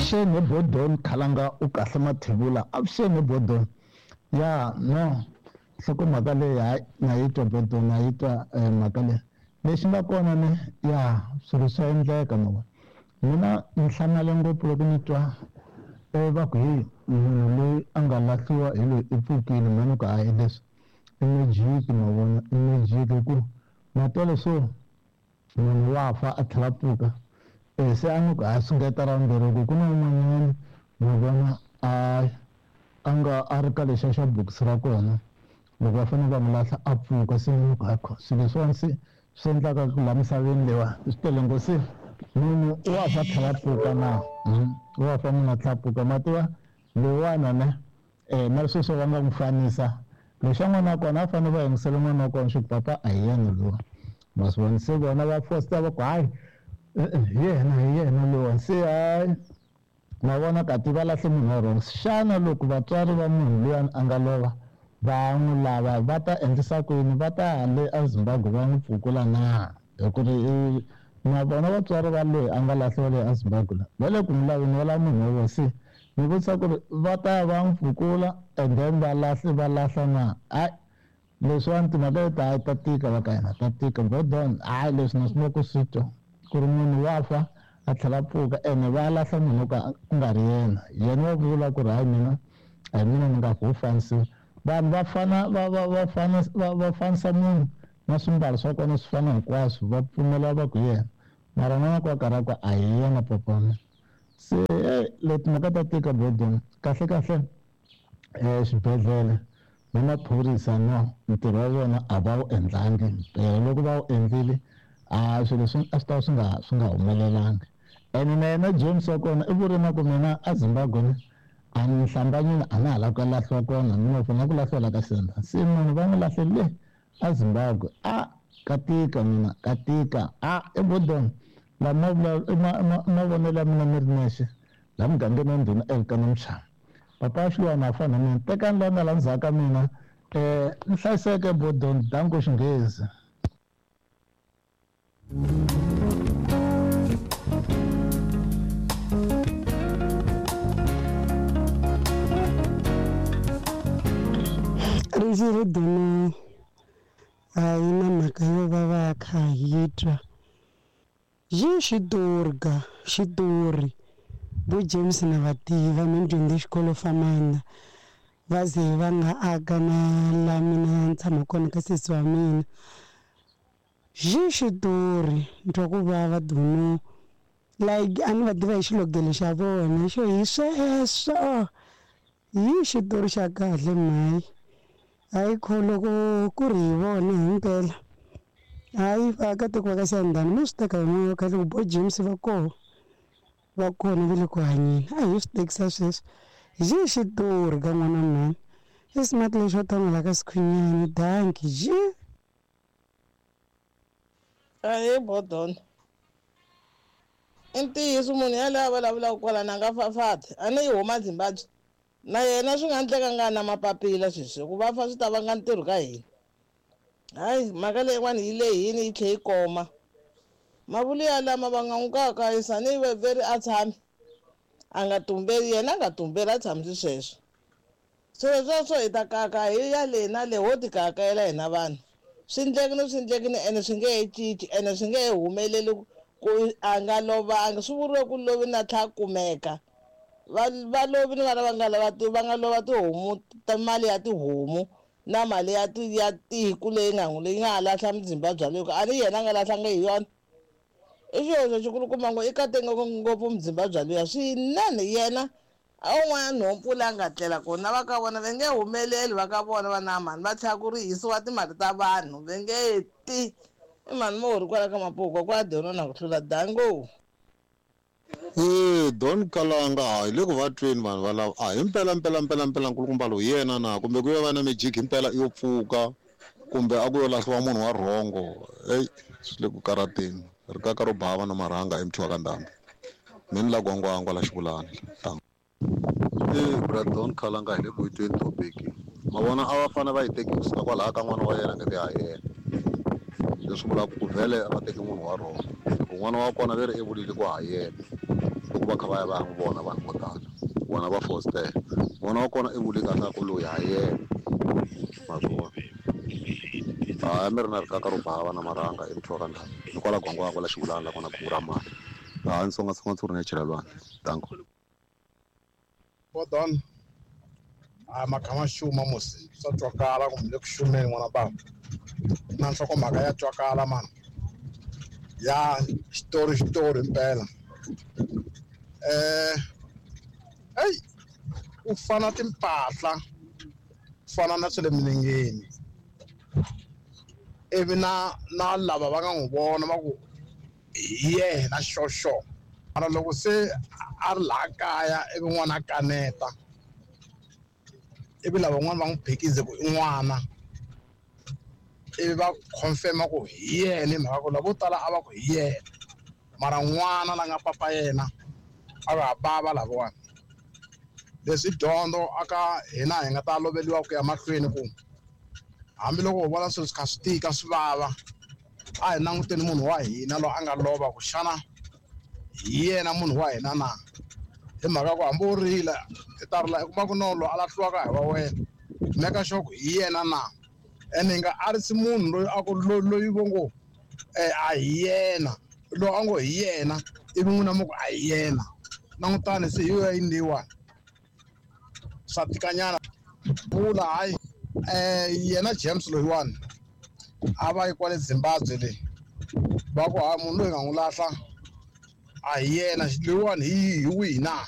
Avuxeni he Bodon Khalanga u kahle Mathebula avuxeni he Bodon ya no nhlokomhaka leyi hayi na yi twa Bodon na yi twa mhaka leyi lexi nga kona ne ya swilo swa endleka ma vona mina ni hlamale ngopfu loko ni twa va ku heyi munhu loyi a nga lahliwa hi loyi i pfukile mhani ku hayi leswi i magic ma vona i magic hi ku ma twa leswo munhu wa fa a tlhela a pfuka se a ni ku a sungeta ra vumbirhi ku ku na un'wanyana ma vona a a nga a ri ka lexiya xa bokisi ra kona loko va fanele va n'wi lahla a pfuka se ni ku hakho swilo leswiwani se swi endlaka ku laha misaveni leyiwa swi tele ngopfu se munhu wa fa tlhela a pfuka na wa fa munhu a tlhela a pfuka ma tiva loyiwana ne na sweswo va nga n'wi fanisa lexa n'wana wa kona a fanele va yingisela n'wana wa kona xi ku papa a hi yena lowa ma swi vona se vona va fosta va ku hayi hi yena hi yena lowa se hayi ma vona kati va lahle munhu wa wrong xana loko vatswari va munhu luyani a nga lova va n'wi lava va ta endlisa ku yini va ta le eZimbabwe va n'wi pfukula na hi ku ri na vona vatswari va loyi a nga lahliwa le eZimbabwe la va le ku n'wi laveni va lava munhu wa vona se ni vutisa ku ri va ta va n'wi pfukula and then va lahli va lahla na hayi leswiwani timhaka leti hayi ta tika va ka hina ta tika Bodon hayi leswi na swi ku swi twa ku ri munhu wa fa a tlhela a pfuka ene va lahla munhu ka ku nga ri yena yena wa vula ku ri hayi mina a hi mina ni nga ku fanisiwa vanhu va fana va va va fana va va fanisa munhu na swimbalo swa kona swi fana hinkwaswo va pfumela va ku yena mara n'wana ku a karhi a ku a hi yena papa wa mina se leti mhaka ta tika Bodon kahle kahle xibedhlele na maphorisa no ntirho wa vona a va wu endlangi mpela loko va wu endlile a swilo leswi a swi ta swi nga swi nga humelelangi ene na yena James wa kona i vuri na ku mina a Zimbabwe ne a ni hlambanyile a na ha lava ku ya lahliwa kona mina u na ku lahliwa la ka Xivenda se munhu va n'wi lahle le a Zimbabwe a ka tika mina ka tika a i Bodon la ma vula mavonelo ya mina ni ri nexe la mugangeni wa ndhuna Elkana Mchana papa Xilwana a fana na mina tekani la nga la ndzhaku ka mina ni hlayiseke Bodon danko Xinghezi. Ndzi ri Dono a yi na mhaka yo va va kha hi twa yi xitorga xitori vo James na va tiva mi dyondze xikolo famana va ze va nga aka na la mina ni tshama kona ka sesi wa mina xi xitori ni twa ku vava Dono like a ni va tiva hi xilogelo xa vona xo hi sweswo hi xitori xa kahle mhayi hayi kho loko ku ri hi vona himpela hayi vaakatiko va ka Xiyandhani mi swi teka hi moya wa kahle ku bo James va koho va kona va le ku hanyeni a hi swi tekisa sweswo hi xitori ka n'wana mhani i smart lexo tanga la ka Sikhunyani danki ji Ahee Bodon i ntiyiso munhu yaloye a vulavulaka kwalano a nga fafati a ni yi huma Zimbabwe na yena swi nga endleka nga na mapapila sweswi ku va fa swi ta vanga ntirho ka hina hayi mhaka leyin'wana yi lehini yi tlhe yi koma mavulu ya lama va nga n'wi kayakayisa ni veri a tshami a nga tumbeli yena a nga tumbeli a tshamisi sweswo swilo sweswo hi ta kaka hi ya le na le ho ti kakayela hina vanhu swi ndlekini swi ndlekini ene swi nge he cinci ene swi nge he humeleli ku a nga lovanga swi vuriwe ku lovi na tlha kumeka va va lovi ni vana va nga lava va nga lova tihomu ta mali ya tihomu na mali ya ti ya tiku leyi nga n'wi leyi nga ha lahla muzimba bya loko a ni yena a nga lahlanga hi yona i xihoxo xikulukumba ngo i katenge ngopfu muzimba bya luya swinene yena a un'wana nhompfu leyi a nga tlela kona va ka vona va nge humeleli va ka vona va na mhani va tlhela ku ri hisiwa timali ta vanhu va nge ti i mhani mo ri kwala ka mapuka kwa dyona na ku hlula dango. Don Kalanga hayi le ku va tweni vanhu valava a hi mpela mpela mpela mpela nkulukumba lowu yena na kumbe ku yo va na magic himpela yo pfuka kumbe a ku yo lahliwa munhu wa rhongo eyi swi le ku karateni rikaka ro bava na marhanga emuthiwa ka ndhambi mi ni la gwangwangwa la xivulani bra Don Kalanga hi le ku yi tweni topic ma vona a va fane va yi teki kusuka kwalaya ka n'wana wa yena nge ha yena leswi vulaka ku vhele a va teki munhu wa rhongo hi ku n'wana wa kona ve ri i vulile ku ha yena Loko va kha va ya va ya n'wi vona vanhu vo tala, vona va fositela. N'wana wa kona i vule kahle a ku loyi ha yena, ma swi vona. Hayi mi ri na rikaka ro bava na marhanga i muthu wa ka ndhawu. Ni kwala Gwangwa kwala Xivulana la kona khumbu ra mali. Hayi ni tsongatsonga ntshuri ni ya chela lwandle. Danko. Bodon a makha ma xuma musi swa twakala kumbe le ku xumeni n'wana bava na nhlokomhaka ya twakala mani ya xitori xitori impela eyi u fana timpahla u fana na swa le milengeni ivi na lava va nga n'wi vona va ku hi yena xoxo mara loko se a ri laha kaya ivi n'wana a kaneta ivi lavan'wana va n'wi phikize ku i n'wana ivi va confirm-a ku hi yena hi mhaka ku lavo tala a va ku hi yena mara n'wana la nga papa yena a va ha bava lavawani. Leswi dyondzo aka hina hi nga ta loveriwa ku ya mahlweni ku hambiloko ho vona swilo swi kha swi tika swi vava a hi languteni munhu wa hina loyi a nga lova ku xana hi yena munhu wa hina na hi mhaka ku hambi u rila i ta rila i kuma ku no loyi a lahliwaka hi wa wena make sure ku hi yena na ene hi nga arisi munhu loyi a ku loyi vo ngo a hi yena loyi a ngo hi yena ivi n'wina mi ku a hi yena langutani se hi yo yini leyiwani swa tikanyana vula hayi yena James loyiwani a va yi kwale Zimbabwe le va ku hayi munhu loyi hi nga n'wi lahla a hi yena loyiwani hi wihi na.